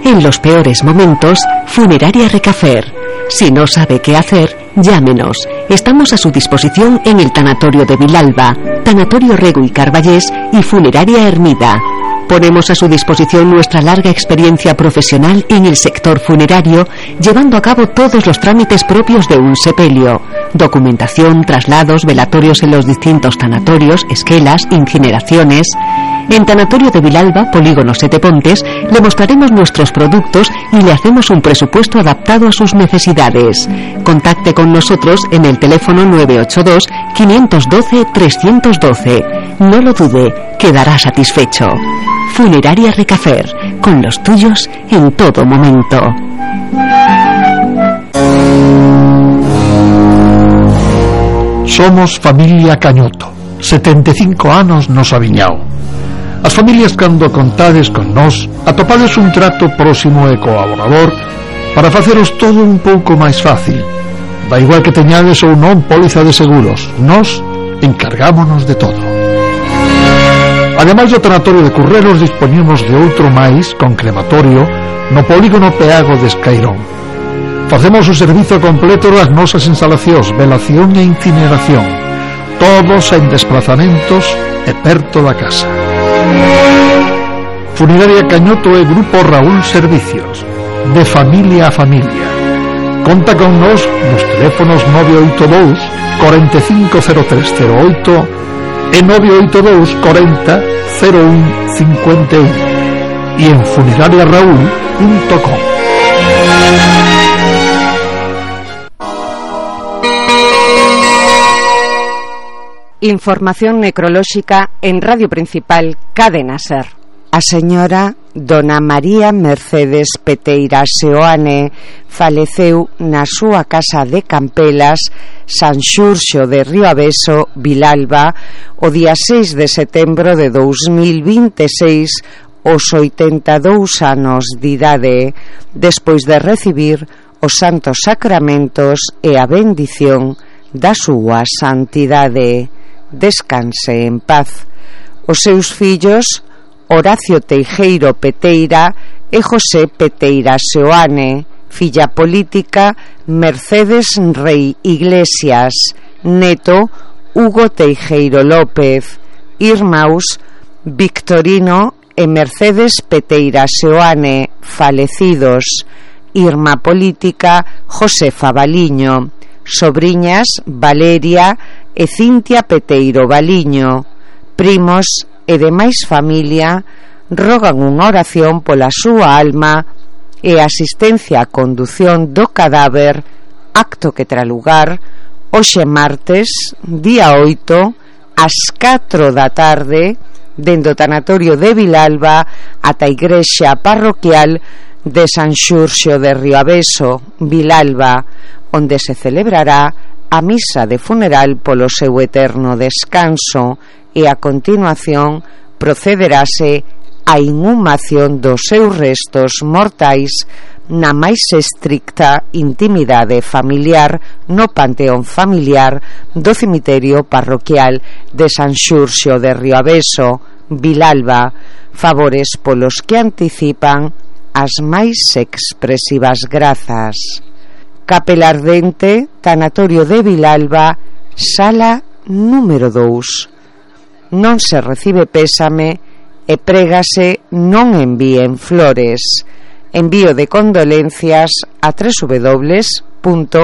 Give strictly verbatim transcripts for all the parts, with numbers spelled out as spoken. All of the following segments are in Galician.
En los peores momentos, Funeraria Recafer. Si no sabe qué hacer, llámenos. Estamos a su disposición en el Tanatorio de Vilalba, Tanatorio Rego y Carballés y Funeraria Hermida. Ponemos a su disposición nuestra larga experiencia profesional en el sector funerario, llevando a cabo todos los trámites propios de un sepelio: documentación, traslados, velatorios en los distintos tanatorios, esquelas, incineraciones. En Tanatorio de Vilalba, Polígono Sete Pontes, le mostraremos nuestros productos y le hacemos un presupuesto adaptado a sus necesidades. Contacte con nosotros en el teléfono nueve ocho dos, cinco uno dos, tres uno dos. No lo dude, quedará satisfecho. Funeraria Recafer, con los tuyos en todo momento. Somos familia Cañoto, setenta e cinco anos nos aviñao. As familias cando contades con nós atopades un trato próximo e colaborador para faceros todo un pouco máis fácil. Da igual que teñades ou non póliza de seguros, nós encargámonos de todo. Ademais do tanatorio de Curreros, dispoñemos de outro máis con crematorio no polígono Peago de Escairón. Facemos o servizo completo das nosas instalacións, velación e incineración, todos en desplazamentos e perto da casa. Funeraria Cañoto e Grupo Raúl Servicios, de familia a familia. Conta con nós nos teléfonos nove oito dous, cuarenta e cinco cero tres cero oito e nove oito dous, cuarenta cero un cincuenta y uno e en funeraria raúl punto com. Información necrolóxica en Radio Principal Cadena Ser. A señora Dona María Mercedes Peteira Seoane faleceu na súa casa de Campelas, San Xurxo de Rioaveso, Vilalba, o día seis de setembro de dous mil vinte e seis, aos oitenta e dous anos de idade, despois de recibir os santos sacramentos e a bendición da súa santidade. Descanse en paz. Os seus fillos, Horacio Teijeiro Peteira e José Peteira Seoane, filla política Mercedes Rei Iglesias, neto Hugo Teijeiro López, irmãos Victorino e Mercedes Peteira Seoane, falecidos, irmá política Josefa Baliño, sobriñas Valeria e Cintia Peteiro Baliño, primos e demais familia rogan unha oración pola súa alma e asistencia á condución do cadáver, acto que terá lugar hoxe martes, día oito, ás catro da tarde, dende o tanatorio de Vilalba ata a igrexa parroquial de San Xurxo de Rioaveso, Vilalba, onde se celebrará a misa de funeral polo seu eterno descanso e a continuación procederase a inhumación dos seus restos mortais na máis estricta intimidade familiar no panteón familiar do cemiterio parroquial de San Xurxo de Rioaveso, Vilalba, favores polos que anticipan as máis expresivas grazas. Capela Ardente, Tanatorio de Vilalba, sala número dous. Non se recibe pésame e prégase non envíen flores. Envío de condolencias a doble u doble u doble u punto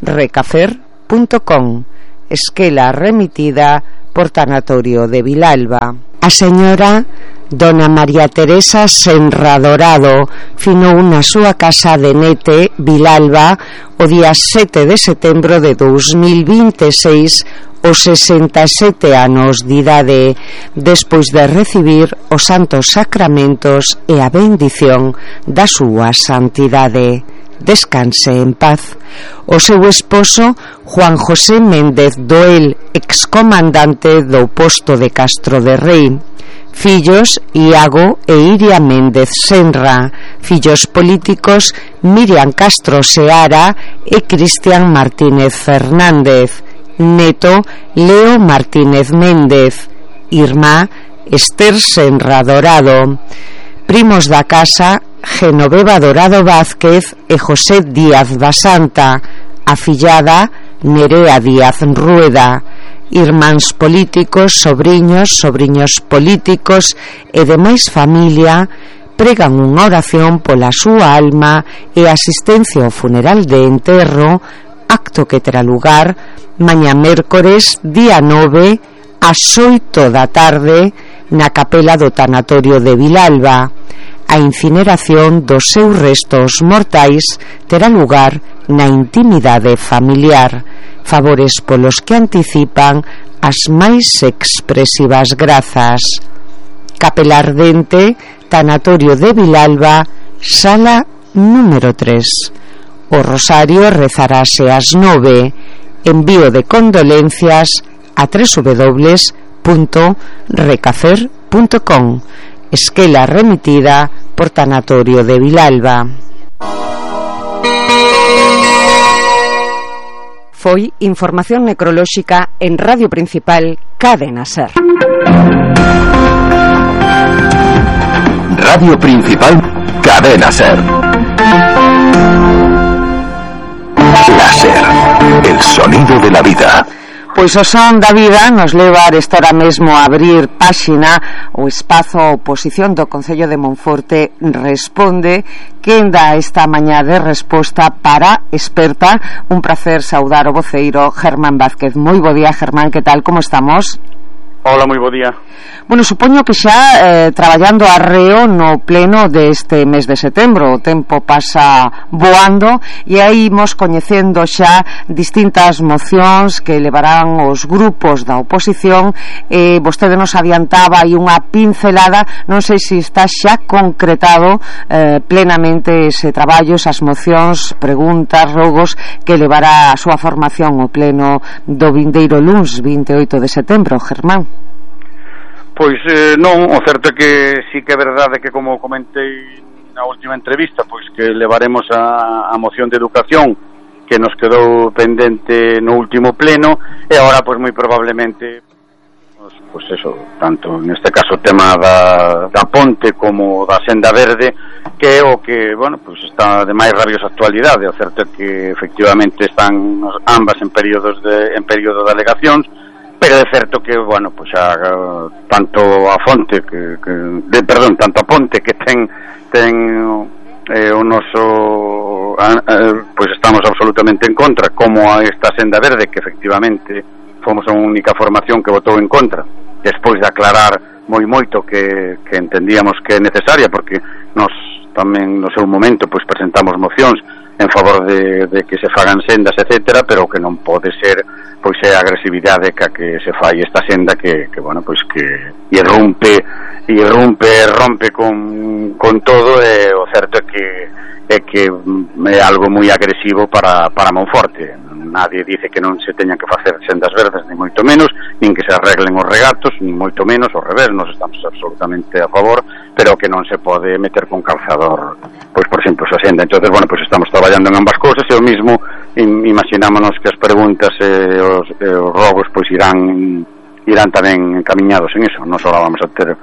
recafer punto com. Esquela remitida por Tanatorio de Vilalba. A señora Dona María Teresa Senra Dorado finou na súa casa de Nete, Vilalba, o día sete de setembro de dous mil vinte e seis, os sesenta e sete anos de idade, despois de recibir os santos sacramentos e a bendición da súa santidade. Descanse en paz. O seu esposo, Juan José Méndez Doel, excomandante do posto de Castro de Rei. Fillos, Iago e Iria Méndez Senra. Fillos políticos, Miriam Castro Seara e Cristian Martínez Fernández. Neto, Leo Martínez Méndez. Irmá, Esther Senra Dorado. Primos da casa, Genoveva Dorado Vázquez e José Díaz Basanta, afillada Nerea Díaz Rueda, irmáns políticos, sobriños, sobriños políticos e demais familia pregan unha oración pola súa alma e asistencia ao funeral de enterro, acto que terá lugar mañá mércores, día nove, ás oito da tarde, na capela do tanatorio de Vilalba. A incineración dos seus restos mortais terá lugar na intimidade familiar. Favores polos que anticipan as máis expresivas grazas. Capela Ardente, Tanatorio de Vilalba, sala número tres. O rosario rezarase ás nove. Envío de condolencias a doble u doble u doble u punto recafer punto com. Esquela remitida por Tanatorio de Vilalba. Foi información necrolóxica en Radio Principal Cadena Ser. Radio Principal Cadena Ser. La Ser, el sonido de la vida. Pois o son da vida nos leva esta hora mesmo a abrir páxina o espazo oposición do Concello de Monforte responde, quen dá esta mañá de resposta para experta. Un placer saudar o voceiro Germán Vázquez. Moi bo día, Germán, que tal, como estamos? Hola, moi bo día. Bueno, supoño que xa eh, traballando arreo no pleno deste mes de setembro. O tempo pasa voando e aí imos coñecendo xa distintas mocións que levarán os grupos da oposición. eh, Vostede nos adiantaba aí unha pincelada. Non sei se está xa concretado eh, plenamente ese traballo, esas mocións, preguntas, rogos que levará a súa formación o pleno do vindeiro luns vinte e oito de setembro, Germán. Pois eh, non, o certo é que sí que é verdade que, como comentei na última entrevista, pois que levaremos a, a moción de educación que nos quedou pendente no último pleno, e agora pois moi probablemente pois, pois eso, tanto neste caso o tema da, da ponte como da senda verde, que é o que, bueno, pois está de máis rabiosa actualidade. O certo é que efectivamente están ambas en períodos de, en período de alegacións, pero é certo que, bueno, pois a, tanto a fonte que, que de, perdón, tanto a ponte que ten ten eh, o noso a, a, pois estamos absolutamente en contra, como a esta senda verde que efectivamente fomos a única formación que votou en contra, despois de aclarar moi moito que, que entendíamos que é necesaria, porque nos tamén no seu momento pois presentamos mocións en favor de, de que se fagan sendas, etcétera, pero que non pode ser pois é a agresividade ca que se fai esta senda que, que bueno, pois que irrumpe irrumpe, rompe con, con todo, e o certo é que é que é algo moi agresivo para, para Monforte. Nadie dice que non se teñan que facer sendas verdes, ni moito menos, nin que se arreglen os regatos, ni moito menos, ao revés, nos estamos absolutamente a favor, pero que non se pode meter con calzador, pois por exemplo, esa senda. Entonces, bueno, pois estamos traballando en ambas cousas, e o mismo imaginámonos que as preguntas e os, e os rogos pois irán irán tamén encaminhados en eso. Non só vamos a ter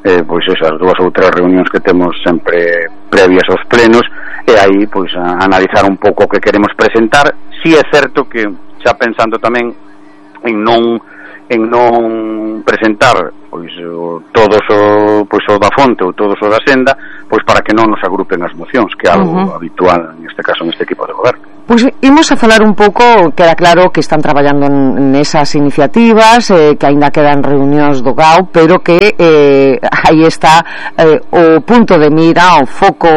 eh, pois esas dúas ou tres reunións que temos sempre previas aos plenos, e aí pois a, a analizar un pouco o que queremos presentar. Si é certo que xa pensando tamén en non en non presentar pois o, todos o pois o da fonte ou todos o da senda, pois para que non nos agrupen as mocións, que é algo uh-huh. habitual neste caso neste equipo de goberno. Pois imos a falar un pouco, queda claro que están traballando nesas iniciativas, eh, que aínda quedan reunións do G A U, pero que eh, aí está eh, o punto de mira, o foco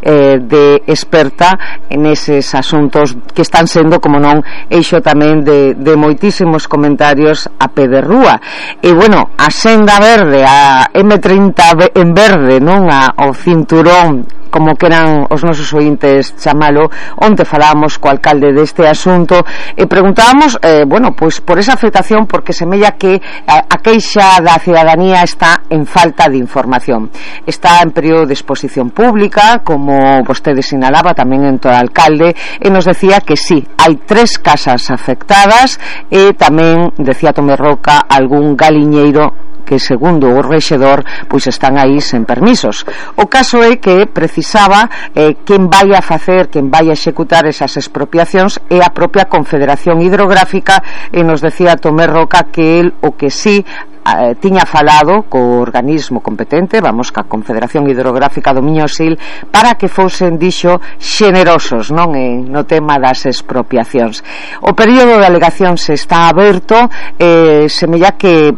eh, de experta en eses asuntos que están sendo, como non, eixo tamén de, de moitísimos comentarios a pé de rúa. E bueno, a senda verde, a eme trinta en verde, non, a, o cinturón, como queran os nosos ointes chamalo, onde falábamos co alcalde deste asunto e preguntábamos, eh, bueno, pois por esa afectación, porque semella que a, a queixa da cidadanía está en falta de información. Está en período de exposición pública, como vostede sinalaba tamén en todo o alcalde, e nos decía que sí, hai tres casas afectadas, e tamén, decía Tomé Roca, algún galiñeiro que segundo o rexedor pois están aí sen permisos. O caso é que precisaba eh, quen vai a facer, quen vai a executar esas expropiacións é a propia Confederación Hidrográfica, e nos decía Tomé Roca que el o que sí eh, tiña falado co organismo competente, vamos, ca Confederación Hidrográfica do Miño Sil, para que fosen, dixo, xenerosos, non, en, no tema das expropiacións. O período de alegación se está aberto, eh, semella que,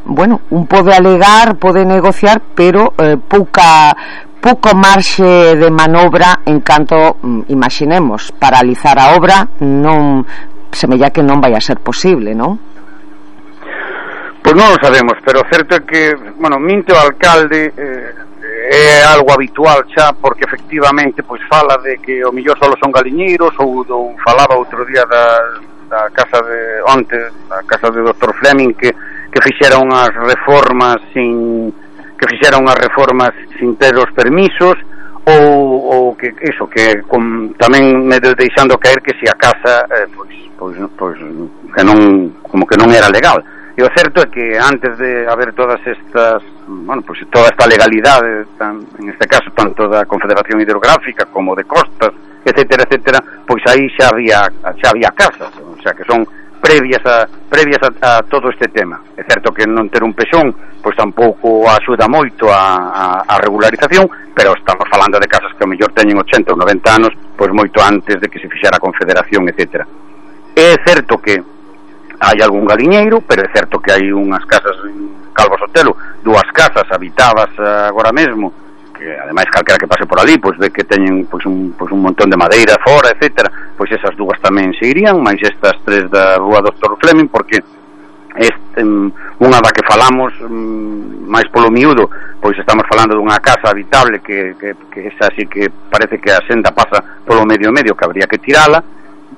bueno, un pode alegar, pode negociar, pero eh, pouca pouco marxe de manobra en canto, imaginemos, paralizar a obra non, semella que non vai a ser posible, non? Pois non o sabemos, pero o certo é que, bueno, minte o alcalde, eh, é algo habitual xa, porque efectivamente pois fala de que o millor solo son galiñeiros, ou, ou falaba outro día da, da casa de onte, da casa de doutor Fleming, que, que fixera unhas reformas sin que fixera unhas reformas sin ter os permisos, ou, ou que iso, que com, tamén me deixando caer que se a casa eh, pois, pois, pois que non, como que non era legal. E o certo é que antes de haber todas estas, bueno, pois toda esta legalidade, tan, en este caso tanto da Confederación Hidrográfica como de Costas, etcétera, etcétera, pois aí xa había xa había casas, o sea, que son previas a previas a, a todo este tema. É certo que non ter un pexón pois tampouco axuda moito a, a, a regularización, pero estamos falando de casas que ao mellor teñen ochenta ou noventa anos, pois moito antes de que se fixera a Confederación, etcétera. É certo que hai algún galiñeiro, pero é certo que hai unhas casas en Calvo Sotelo, dúas casas habitadas agora mesmo, que ademais calquera que pase por ali pois ve que teñen pois un, pois un montón de madeira fora, etcétera, pois esas dúas tamén se irían, máis estas tres da rúa doutor Fleming, porque este, unha da que falamos máis polo miúdo, pois estamos falando dunha casa habitable que, que, que esa sí que parece que a senda pasa polo medio medio, que habría que tirala,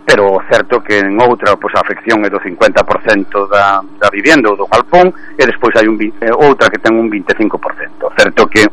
pero certo que en outra pois a afección é do cincuenta por cento da, da vivenda ou do galpón, e despois hai un, outra que ten un vinte e cinco por cento. Certo que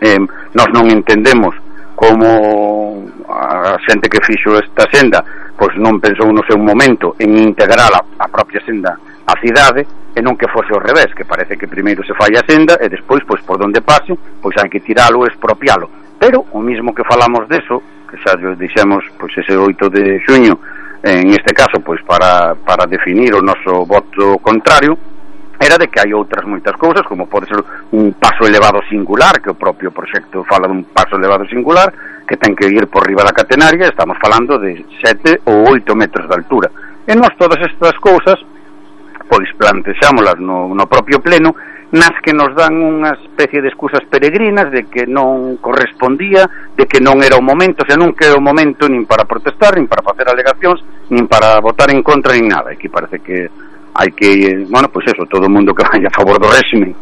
eh, nós non entendemos como a xente que fixo esta senda pois non pensou no seu momento en integrar a, a propia senda á cidade, e non que fose ao revés, que parece que primeiro se fai a senda e despois, pois por donde pase, pois hai que tiralo e expropialo. Pero o mismo que falamos deso, que xa dixemos pois ese oito de xuño, en este caso pois para, para definir o noso voto contrario, era de que hai outras moitas cousas, como pode ser un paso elevado singular, que o propio proxecto fala dun paso elevado singular, que ten que ir por riba da catenaria, estamos falando de sete ou oito metros de altura. E nós todas estas cousas pois plantexámolas no, no propio pleno, nas que nos dan unha especie de excusas peregrinas de que non correspondía, de que non era o momento, o sea, non que era o momento nin para protestar, nin para facer alegacións, nin para votar en contra, nin nada. Aquí parece que hai que, bueno, pois eso, todo o mundo que vai a favor do réximen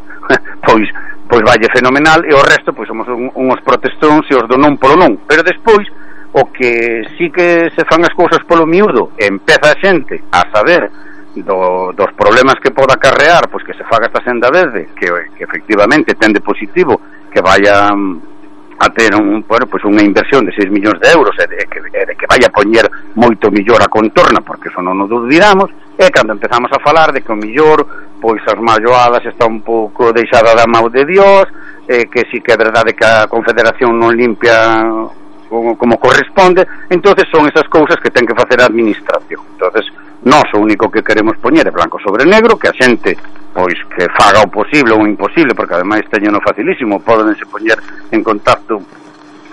pois pois valle fenomenal, e o resto pois somos un, uns protestóns e os do non polo non. Pero despois o que sí que se fan as cousas polo miúdo, e empeza a xente a saber Do, dos problemas que poda acarrear pois que se faga esta senda verde, que, que efectivamente ten de positivo que vaya a ter un, bueno, pois unha inversión de seis millóns de euros, e de, que, de que vaya a poñer moito millor a contorna, porque eso non nos duvidamos, e cando empezamos a falar de que o millor pois as malloadas está un pouco deixada da mão de Dios, e que si que é verdade que a Confederación non limpia como, como corresponde, entonces son esas cousas que ten que facer a administración. Entonces nós o único que queremos poñer é blanco sobre negro, que a xente pois que faga o posible ou o imposible, porque ademais teñeno facilísimo, podense poñer en contacto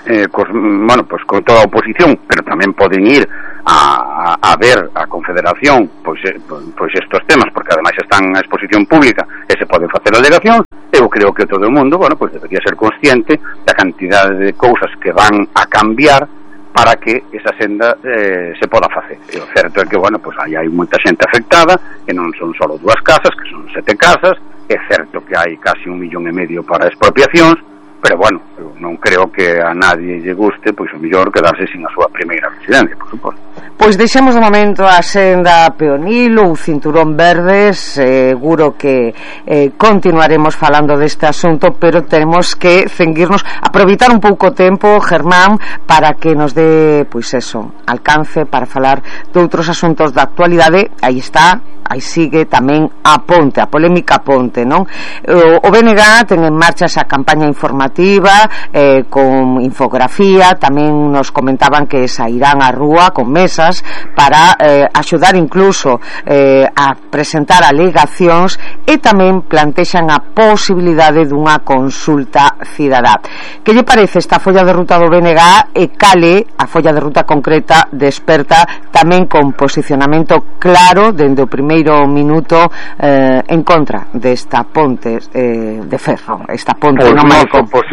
eh, cos, bueno, pois con toda a oposición, pero tamén poden ir a, a, a ver a Confederación pois, eh, pois estos temas, porque ademais están a exposición pública e se poden facer alegación. Eu creo que todo o mundo, bueno, pois debería ser consciente da cantidade de cousas que van a cambiar para que esa senda eh, se poda facer. E o certo é que, bueno, pois aí hai moita xente afectada, que non son só dúas casas, que son sete casas, é certo que hai casi un millón e medio para expropiacións, pero, bueno, eu non creo que a nadie lle guste, pois o mellor quedarse sin a súa primeira residencia, por suposto. Pois deixamos de momento a senda peonil ou cinturón verde, seguro que eh, continuaremos falando deste asunto, pero tenemos que cenguirnos, aproveitar un pouco o tempo, Germán, para que nos dé, pois eso, alcance para falar de outros asuntos da actualidade. Aí está aí sigue tamén a Ponte, a polémica Ponte, non? O, o B N G ten en marcha esa campaña informativa eh, con infografía, tamén nos comentaban que sairán á rúa con mesas para eh, axudar incluso eh, a presentar alegacións e tamén plantexan a posibilidade dunha consulta cidadá. Que lle parece esta folla de ruta do B N G e cale a folla de ruta concreta desperta tamén con posicionamento claro dende o primeiro minuto eh, en contra desta ponte eh, de ferro, esta ponte pois no Malecón? Pois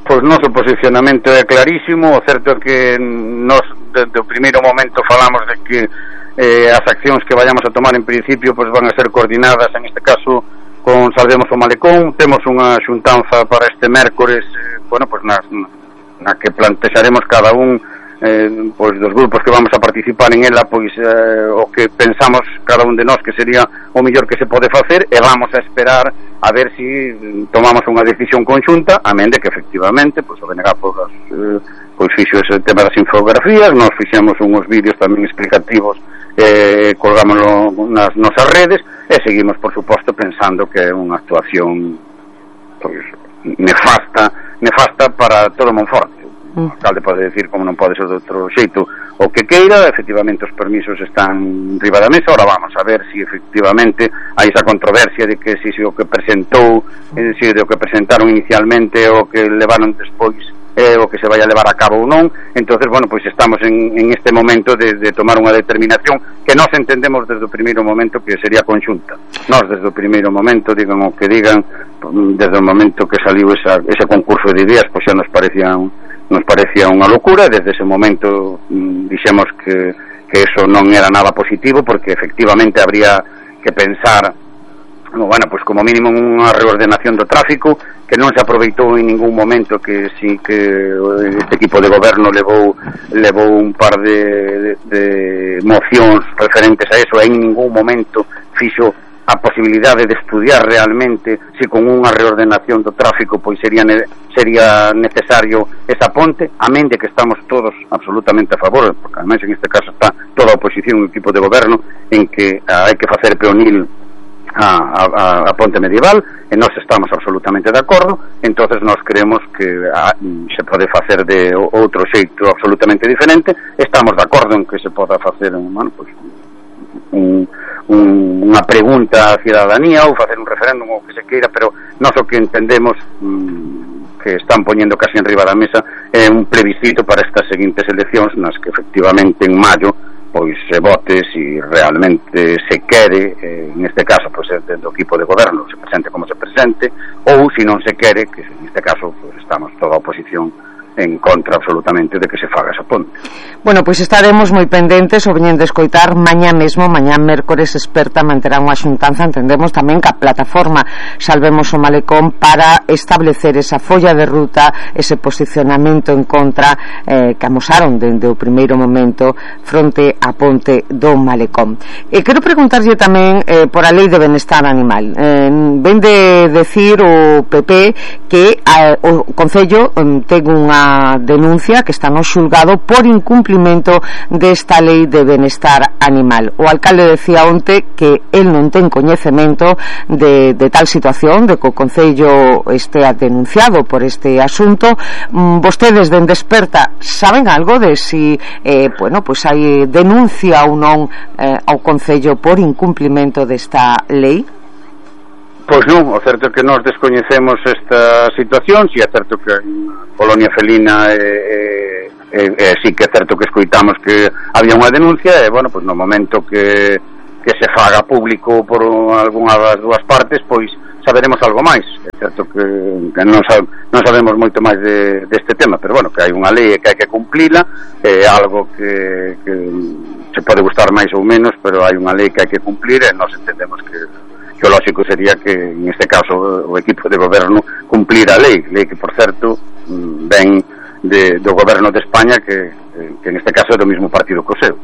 pois noso posicionamento é clarísimo. O certo é que nos desde o primeiro momento falamos de que eh, as accións que vayamos a tomar en principio pois van a ser coordinadas, en este caso con Salvemos o Malecón. Temos unha xuntanza para este mércores, eh, bueno, pois na, na que plantexaremos cada un Eh, pois dos grupos que vamos a participar en ela, pois eh, o que pensamos cada un de nós que sería o mellor que se pode facer, e vamos a esperar a ver si tomamos unha decisión conxunta, amén de que efectivamente pois o B N G pois, eh, pois fixo ese tema das infografías, nos fixemos uns vídeos tamén explicativos, eh, colgámoslo nas nosas redes, e seguimos por suposto pensando que é unha actuación pois nefasta nefasta para todo Monforte. O alcalde pode decir, como non pode ser de outro xeito, o que queira. Efectivamente os permisos están riba da mesa. Ahora vamos a ver si efectivamente hai esa controversia de que si, si o que presentou eh, si de o que presentaron inicialmente o que levaron despois eh, o que se vai a levar a cabo ou non. Entonces, bueno, pois estamos en, en este momento de, de tomar unha determinación que nós entendemos desde o primeiro momento que sería conxunta. Nós desde o primeiro momento, digan o que digan, desde o momento que saliu esa, ese concurso de ideas, pois xa nos parecían nos parecía unha locura. Desde ese momento mm, dixemos que, que eso non era nada positivo, porque efectivamente habría que pensar, bueno, pues como mínimo unha reordenación do tráfico, que non se aproveitou en ningún momento, que sí que este equipo de goberno levou levou un par de, de, de mocións referentes a eso, e en ningún momento fixo a posibilidade de estudiar realmente se con unha reordenación do tráfico pois sería ne- sería necesario esa ponte, amén de que estamos todos absolutamente a favor, porque además en este caso está toda a oposición, o equipo de goberno, en que ah, hai que facer peonil a, a, a ponte medieval, e nós estamos absolutamente de acordo. Entonces nós creemos que ah, se pode facer de outro xeito absolutamente diferente. Estamos de acordo en que se poda facer, bueno, pois un Un, unha pregunta á cidadanía ou facer un referéndum ou que se queira, pero nós o que entendemos mmm, que están poñendo casi en riba da mesa é un plebiscito para estas seguintes eleccións, nas que efectivamente en maio pois se vote si realmente se quere, eh, en este caso pois do equipo de goberno se presente como se presente, ou si non se quere, que en este caso pois estamos toda a oposición en contra absolutamente de que se faga esa ponte. Bueno, pois estaremos moi pendentes, o veñen de escoitar mañá mesmo, mañá mércores experta manterá unha xuntanza, entendemos tamén que a plataforma Salvemos o Malecón, para establecer esa folla de ruta, ese posicionamento en contra eh, que amosaron dende o primeiro momento fronte á ponte do Malecón. E quero preguntarlle tamén eh, por a Lei de Benestar Animal. Eh, ven de decir o P P que eh, o Concello eh, ten unha denuncia que está no xulgado por incumplimento desta Lei de Benestar Animal. O alcalde decía onte que el non ten coñecemento de, de tal situación, de que o Concello estea denunciado por este asunto. Mm, vostedes den Desperta saben algo de si eh, bueno, pues hai denuncia ou non eh, ao Concello por incumplimento desta lei? Pois non, o certo é que nós descoñecemos esta situación. Si é certo que a colonia felina e, e, e si que é certo que escoitamos que había unha denuncia, e bueno, pois no momento que, que se faga público por algunha das dúas partes, pois saberemos algo máis. É certo que, que non, sab, non sabemos moito máis de, deste tema, pero bueno, que hai unha lei que hai que cumplila, é algo que, que se pode gustar máis ou menos, pero hai unha lei que hai que cumplir, e nós entendemos que que o lógico sería que, en este caso, o equipo de goberno cumplir a lei, lei que, por certo, ven de, do goberno de España, que, que que en este caso é do mesmo partido que o seu.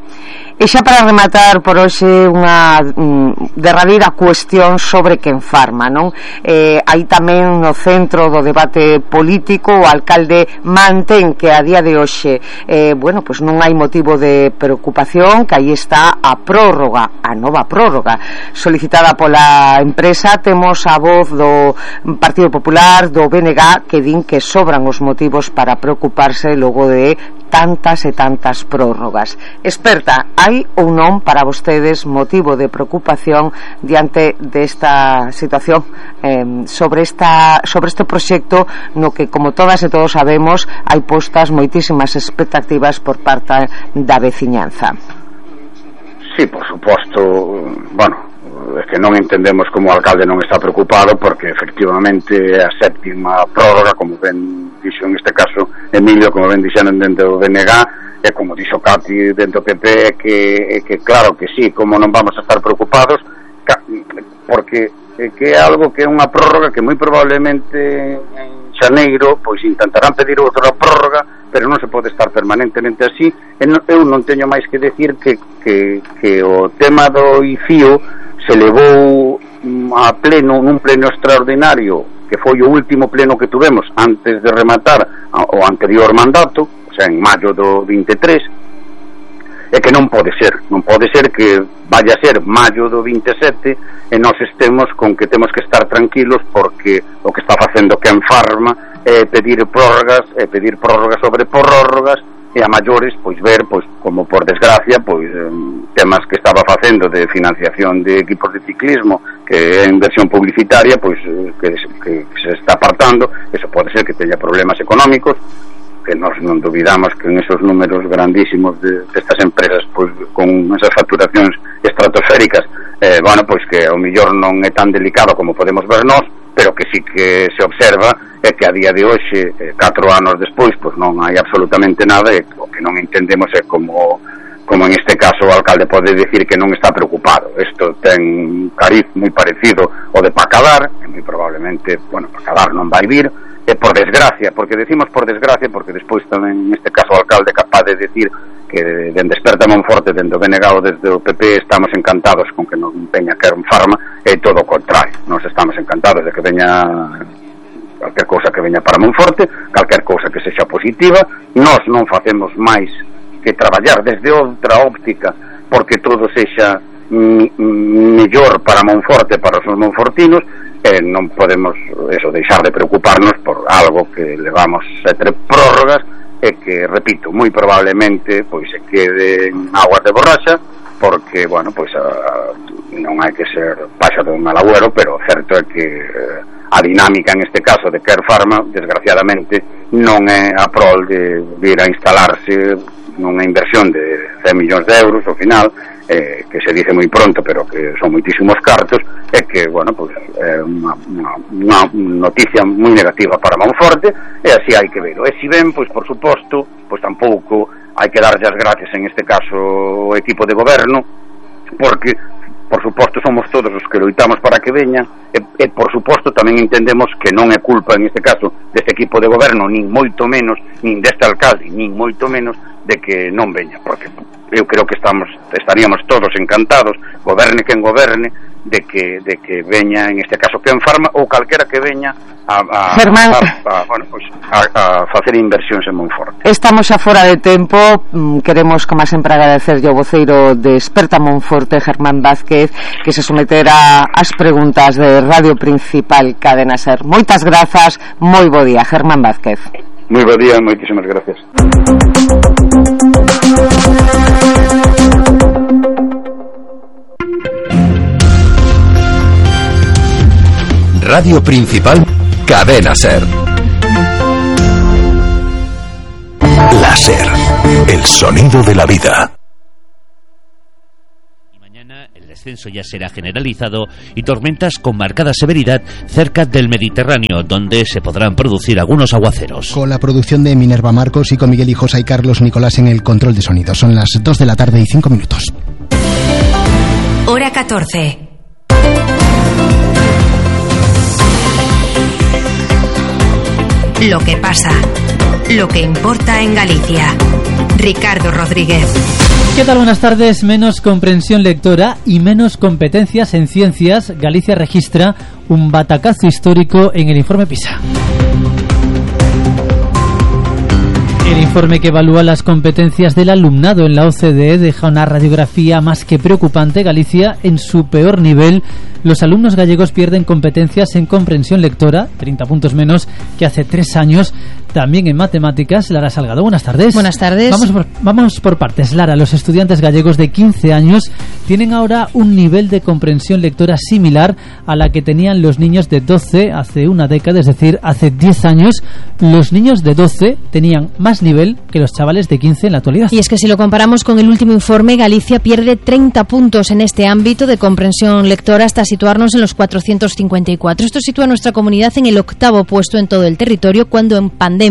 E xa para rematar por hoxe unha mm, derradeira cuestión sobre Quen Pharma, non? Eh, hai tamén no centro do debate político o alcalde mantén que a día de hoxe eh, bueno, pues non hai motivo de preocupación, que aí está a prórroga, a nova prórroga solicitada pola empresa. Temos a voz do Partido Popular, do B N G, que din que sobran os motivos para preocuparse logo de tantas e tantas prórrogas. Experta, hai ou non para vostedes motivo de preocupación diante desta situación eh, sobre esta sobre este proxecto no que, como todas e todos sabemos, hai postas moitísimas expectativas por parte da veciñanza? Sí, por suposto, bueno, é que non entendemos como o alcalde non está preocupado, porque efectivamente a séptima prórroga, como ben dixo en este caso Emilio, como ben dixeron dentro do B N G, e como dixo Cati dentro do P P, é que, é que claro que sí, como non vamos a estar preocupados, porque é que é algo que é unha prórroga que moi probablemente en xaneiro pois intentarán pedir outra prórroga, pero non se pode estar permanentemente así. E non, eu non teño máis que decir que, que, que o tema do I C I O se levou a pleno, nun pleno extraordinario, que foi o último pleno que tuvemos antes de rematar o anterior mandato, o sea, en maio do vinte e tres, e que non pode ser, non pode ser que vaya a ser maio do vinte e sete e nós estemos con que temos que estar tranquilos porque o que está facendo Quen Pharma é pedir prórrogas, é pedir prórrogas sobre prórrogas, e a maiores, pois ver, pois como por desgracia, pois eh, temas que estaba facendo de financiación de equipos de ciclismo, que é inversión publicitaria, pois eh, que, que, que se está apartando. Eso pode ser que teña problemas económicos, que nós non dubidamos que en esos números grandísimos de, de estas empresas, pois con esas facturacións estratosféricas, eh, bueno, pois que ao millor non é tan delicado como podemos ver nós, pero que sí que se observa é que a día de hoxe, eh, catro anos despois, pois non hai absolutamente nada, e o que non entendemos é como como en este caso o alcalde pode decir que non está preocupado. Isto ten un cariz moi parecido ao de Pacadar, e moi probablemente, bueno, Pacadar non vai vir, e por desgracia, porque decimos por desgracia, porque despois tamén en este caso o alcalde é capaz de decir que dende Esperta Monforte, dende o B N G ou desde o P P estamos encantados con que non veña Quen Pharma, e todo o contrario, nos estamos encantados de que veña calquer cousa que veña para Monforte, calquer cousa que sexa positiva. Nós non facemos máis que traballar desde outra óptica porque todo sexa mellor para Monforte, para os monfortinos, e non podemos eso, deixar de preocuparnos por algo que levamos sete prórrogas e que, repito, moi probablemente pois se quede en aguas de borracha, porque, bueno, pois a, non hai que ser paxa de un mal agüero, pero o certo é que a dinámica en este caso de Quen Pharma, desgraciadamente, non é a prol de vir a instalarse nunha inversión de cen millóns de euros ao final, eh, que se dice moi pronto, pero que son moitísimos cartos, e que, bueno, pues, é unha, unha, unha noticia moi negativa para Monforte, e así hai que verlo. E si ben, pois, por suposto, pois tampouco hai que darlle as gracias en este caso ao equipo de goberno, porque por suposto somos todos os que loitamos para que veña, e, e por suposto tamén entendemos que non é culpa en este caso deste equipo de goberno, nin moito menos, nin deste alcalde, nin moito menos de que non veña, porque eu creo que estamos estaríamos todos encantados, goberne quen goberne, de que de que veña en este caso Quen Pharma ou calquera que veña a a, Germán, a, a, bueno, pues, a, a facer inversións en Monforte. Estamos xa fora de tempo. Queremos, como sempre, agradecer ao voceiro de Esperta Monforte, Germán Vázquez, que se sometera ás preguntas de Radio Principal Cadena Ser. Moitas grazas, moi bo día, Germán Vázquez. Moi bo día, moitísimas gracias. Radio Principal Cadena Ser. Láser, el sonido de la vida. Y mañana el descenso ya será generalizado y tormentas con marcada severidad cerca del Mediterráneo, donde se podrán producir algunos aguaceros. Con la producción de Minerva Marcos y con Miguel Hijos y Carlos Nicolás en el control de sonido. Son las dos de la tarde y cinco minutos. Hora catorce. Lo que pasa, lo que importa en Galicia. Ricardo Rodríguez. ¿Qué tal? Buenas tardes. Menos comprensión lectora y menos competencias en ciencias. Galicia registra un batacazo histórico en el informe PISA. El informe que evalúa las competencias del alumnado en la O C D E deja una radiografía más que preocupante. Galicia en su peor nivel. Los alumnos gallegos pierden competencias en comprensión lectora, treinta puntos menos que hace tres años. También en matemáticas. Lara Salgado, buenas tardes. Buenas tardes. Vamos por, vamos por partes. Lara, los estudiantes gallegos de quince años tienen ahora un nivel de comprensión lectora similar a la que tenían los niños de doce hace una década, es decir, hace diez años. Los niños de doce tenían más nivel que los chavales de quince en la actualidad. Y es que si lo comparamos con el último informe, Galicia pierde treinta puntos en este ámbito de comprensión lectora hasta situarnos en los cuatrocientos cincuenta y cuatro. Esto sitúa a nuestra comunidad en el octavo puesto en todo el territorio, cuando en pandemia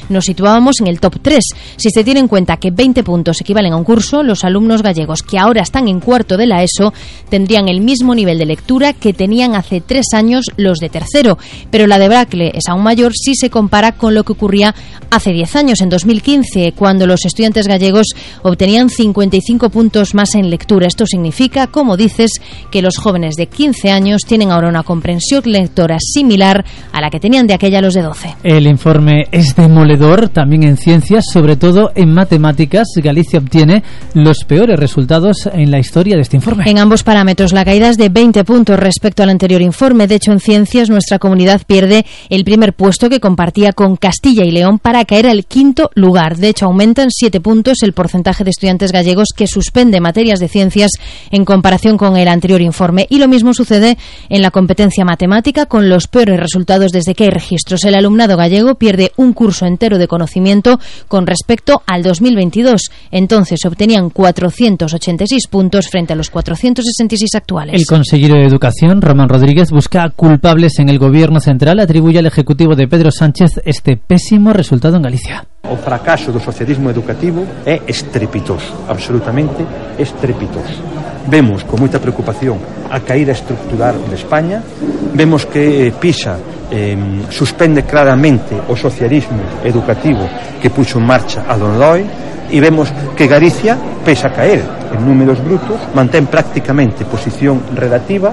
nos situábamos en el top tres. Si se tiene en cuenta que veinte puntos equivalen a un curso, los alumnos gallegos que ahora están en cuarto de la ESO tendrían el mismo nivel de lectura que tenían hace tres años los de tercero. Pero la debacle es aún mayor si se compara con lo que ocurría hace diez años, en dos mil quince, cuando los estudiantes gallegos obtenían cincuenta y cinco puntos más en lectura. Esto significa, como dices, que los jóvenes de quince años tienen ahora una comprensión lectora similar a la que tenían de aquella los de doce. El informe es demoledor también en ciencias, sobre todo en matemáticas. Galicia obtiene los peores resultados en la historia de este informe. En ambos parámetros la caída es de veinte puntos respecto al anterior informe. De hecho, en ciencias nuestra comunidad pierde el primer puesto que compartía con Castilla y León para caer al quinto lugar. De hecho, aumentan siete puntos el porcentaje de estudiantes gallegos que suspende materias de ciencias en comparación con el anterior informe. Y lo mismo sucede en la competencia matemática, con los peores resultados desde que hay registros. El alumnado gallego pierde un curso entero de conocimiento con respecto al dos mil veintidós. Entonces obtenían cuatrocientos ochenta y seis puntos frente a los cuatrocientos sesenta y seis actuales. El consejero de Educación, Román Rodríguez, busca culpables en el Gobierno central. Atribuye al Ejecutivo de Pedro Sánchez este pésimo resultado en Galicia. O fracaso do socialismo educativo é estrepitoso, absolutamente estrepitoso. Vemos con moita preocupación a caída estructural de España, vemos que PISA eh, suspende claramente o socialismo educativo que puxo en marcha a Don Loi, e vemos que Galicia, pese a caer en números brutos, mantén prácticamente posición relativa.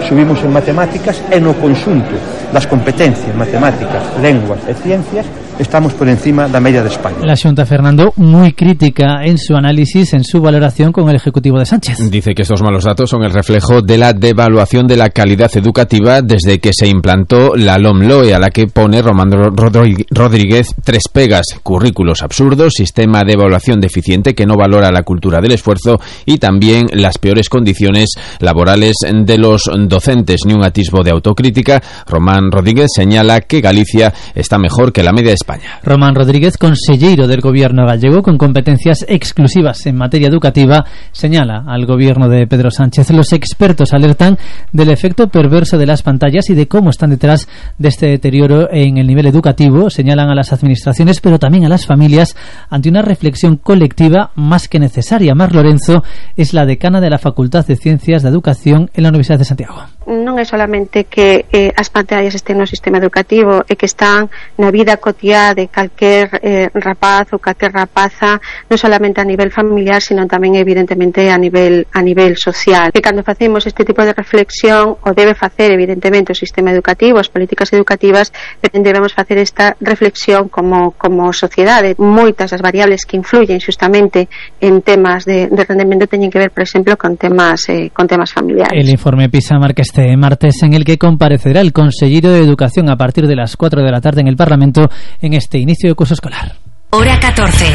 Subimos en matemáticas e no conxunto das competencias matemáticas, lenguas e ciencias estamos por encima da media de España. La Xunta, Fernando, muy crítica en su análisis, en su valoración con el Ejecutivo de Sánchez. Dice que estos malos datos son el reflejo de la devaluación de la calidad educativa desde que se implantó la LOMLOE, a la que pone Román Rodríguez tres pegas: currículos absurdos, sistema de evaluación deficiente que no valora la cultura del esfuerzo y también las peores condiciones laborales de los docentes. Ni un atisbo de autocrítica. Román Rodríguez señala que Galicia está mejor que la media de España. Román Rodríguez, consellero del Gobierno gallego con competencias exclusivas en materia educativa, señala al Gobierno de Pedro Sánchez. Los expertos alertan del efecto perverso de las pantallas y de cómo están detrás de este deterioro en el nivel educativo. Señalan a las administraciones, pero también a las familias, ante una reflexión colectiva más que necesaria. Mar Lorenzo es la decana de la Facultad de Ciencias de Educación en la Universidad de Santiago. Non é solamente que eh, as pantallas estén no sistema educativo, é que están na vida cotiá de calquer eh, rapaz ou calquer rapaza, non solamente a nivel familiar, sino tamén evidentemente a nivel a nivel social. Que cando facemos este tipo de reflexión, o debe facer evidentemente o sistema educativo, as políticas educativas, pero debemos facer esta reflexión como como sociedade. Moitas das variables que influyen xustamente en temas de, de rendemento teñen que ver, por exemplo, con temas eh, con temas familiares. El informe PISA marca este martes, en el que comparecerá el consejero de Educación a partir de las cuatro de la tarde en el Parlamento en este inicio de curso escolar. Hora catorce,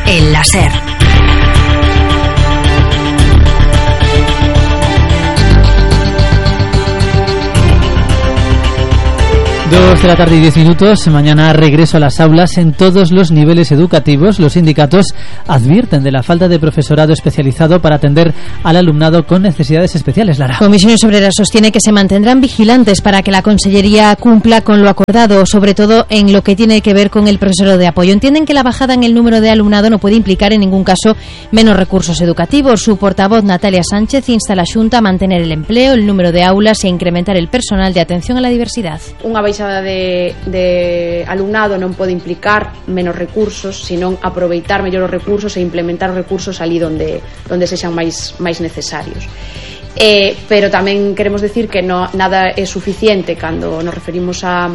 el láser. Dos de la tarde y diez minutos. Mañana regreso a las aulas en todos los niveles educativos. Los sindicatos advierten de la falta de profesorado especializado para atender al alumnado con necesidades especiales. Lara. Comisiones Obreras sostiene que se mantendrán vigilantes para que la Consellería cumpla con lo acordado, sobre todo en lo que tiene que ver con el profesorado de apoyo. Entienden que la bajada en el número de alumnado no puede implicar en ningún caso menos recursos educativos. Su portavoz, Natalia Sánchez, insta a la Xunta a mantener el empleo, el número de aulas e incrementar el personal de atención a la diversidad. Unha baixa baixa de, de alumnado non pode implicar menos recursos, senón aproveitar mellor os recursos e implementar os recursos ali onde, onde sexan máis, máis necesarios. Eh, pero tamén queremos decir que no, nada é suficiente cando nos referimos a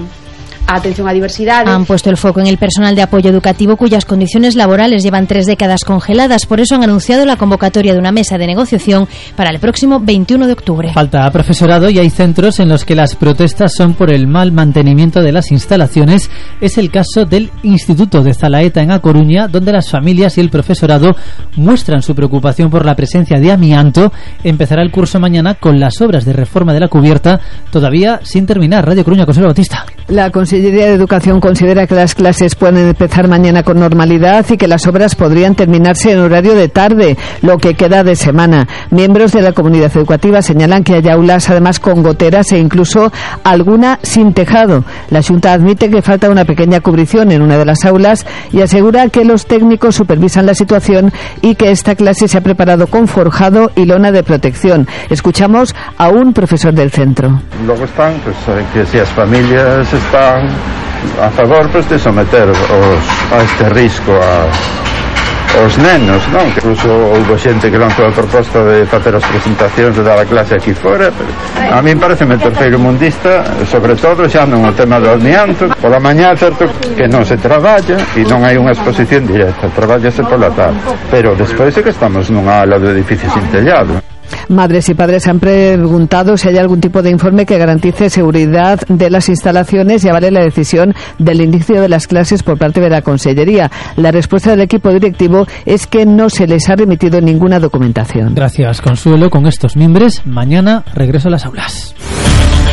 a atención a diversidade. Han puesto el foco en el personal de apoyo educativo cuyas condiciones laborales llevan tres décadas congeladas. Por eso han anunciado la convocatoria de una mesa de negociación para el próximo veintiuno de octubre. Falta profesorado y hay centros en los que las protestas son por el mal mantenimiento de las instalaciones. Es el caso del Instituto de Zalaeta en A Coruña, donde las familias y el profesorado muestran su preocupación por la presencia de amianto. Empezará el curso mañana con las obras de reforma de la cubierta todavía sin terminar. Radio Coruña, Consuelo Bautista. La Consellería de Educación considera que las clases pueden empezar mañana con normalidad y que las obras podrían terminarse en horario de tarde, lo que queda de semana. Miembros de la comunidad educativa señalan que hay aulas además con goteras e incluso alguna sin tejado. La Xunta admite que falta una pequeña cubrición en una de las aulas y asegura que los técnicos supervisan la situación y que esta clase se ha preparado con forjado y lona de protección. Escuchamos a un profesor del centro. Luego están, pues, que si las familias están a favor, pues, de someter os, a este risco a os nenos, non? Que incluso houve xente que lanzou a proposta de facer as presentacións de dar a clase aquí fora, pero a mí parece me terceiro mundista, sobre todo xa non o tema do amianto. Pola mañá, certo que non se traballa e non hai unha exposición directa, traballase pola tarde, pero despois é que estamos nunha ala de edificio sin tellado. Madres y padres han preguntado si hay algún tipo de informe que garantice seguridad de las instalaciones y avale la decisión del inicio de las clases por parte de la Consellería. La respuesta del equipo directivo es que no se les ha remitido ninguna documentación. Gracias, Consuelo. Con estos mimbres, mañana regreso a las aulas.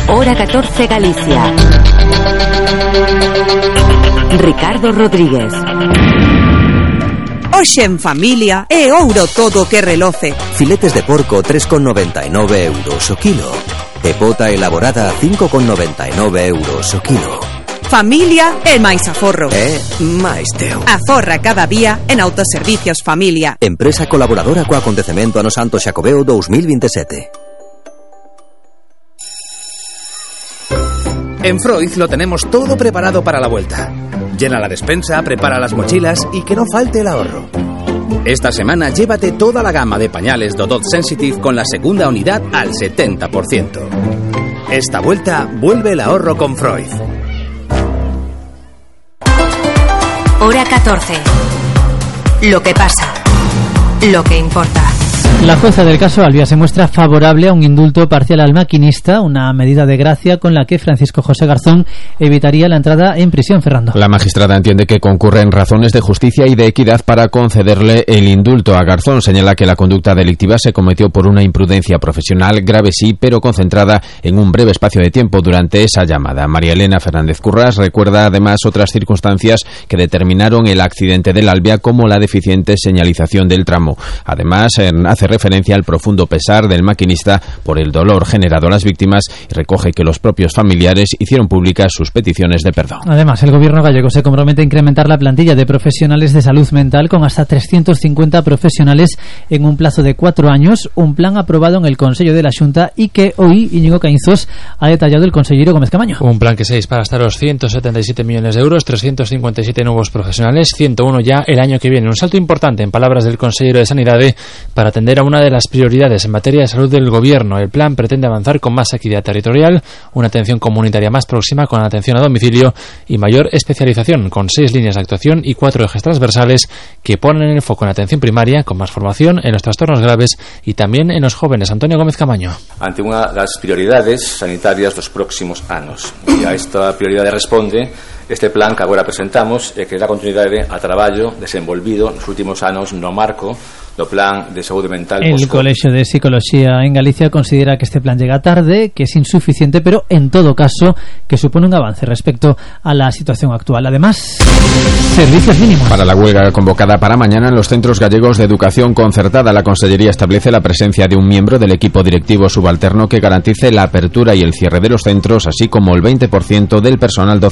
Hora catorce Galicia. Ricardo Rodríguez. Hoxe en familia é ouro todo que reloce. Filetes de porco tres con noventa e nove euros o kilo. E pota elaborada cinco con noventa e nove euros o kilo. Familia é máis aforro. É máis teu. Aforra cada día en Autoservicios Familia. Empresa colaboradora co acontecemento Ano Santo Xacobeo dous mil veintisiete. En Freud lo tenemos todo preparado para la vuelta. Llena la despensa, prepara las mochilas y que no falte el ahorro. Esta semana llévate toda la gama de pañales Dodot Sensitive con la segunda unidad al setenta por ciento. Esta vuelta vuelve el ahorro con Freud. Hora catorce. Lo que pasa. Lo que importa. La jueza del caso Albia se muestra favorable a un indulto parcial al maquinista, una medida de gracia con la que Francisco José Garzón evitaría la entrada en prisión. Fernando. La magistrada entiende que concurren razones de justicia y de equidad para concederle el indulto a Garzón. Señala que la conducta delictiva se cometió por una imprudencia profesional grave, sí, pero concentrada en un breve espacio de tiempo durante esa llamada. María Elena Fernández Currás recuerda además otras circunstancias que determinaron el accidente del Albia, como la deficiente señalización del tramo. Además, hace referencia al profundo pesar del maquinista por el dolor generado a las víctimas y recoge que los propios familiares hicieron públicas sus peticiones de perdón. Además, el gobierno gallego se compromete a incrementar la plantilla de profesionales de salud mental con hasta trescientos cincuenta profesionales en un plazo de cuatro años, un plan aprobado en el Consello de la Xunta y que hoy Íñigo Caínzos ha detallado el consellero Gómez Camaño. Un plan que se dispara hasta los ciento setenta y siete millones de euros, trescientos cincuenta y siete nuevos profesionales, ciento uno ya el año que viene. Un salto importante, en palabras del consejero de Sanidade, para atender a una de las prioridades en materia de salud del gobierno. El plan pretende avanzar con más equidad territorial, una atención comunitaria más próxima con atención a domicilio y mayor especialización, con seis líneas de actuación y cuatro ejes transversales que ponen el foco en la atención primaria, con más formación en los trastornos graves y también en los jóvenes. Antonio Gómez Camaño. Ante unha das prioridades sanitarias dos próximos anos. E a esta prioridade responde este plan que agora presentamos e que dá continuidade a traballo desenvolvido nos últimos anos no marco do plan de saúde mental. El Colegio de Psicología en Galicia considera que este plan llega tarde, que es insuficiente, pero en todo caso que supone un avance respecto a la situación actual. Además, servicios mínimos. Para la huelga convocada para mañana en los centros gallegos de educación concertada, la Consellería establece la presencia de un miembro del equipo directivo subalterno que garantice la apertura y el cierre de los centros, así como el veinte por ciento del personal docente.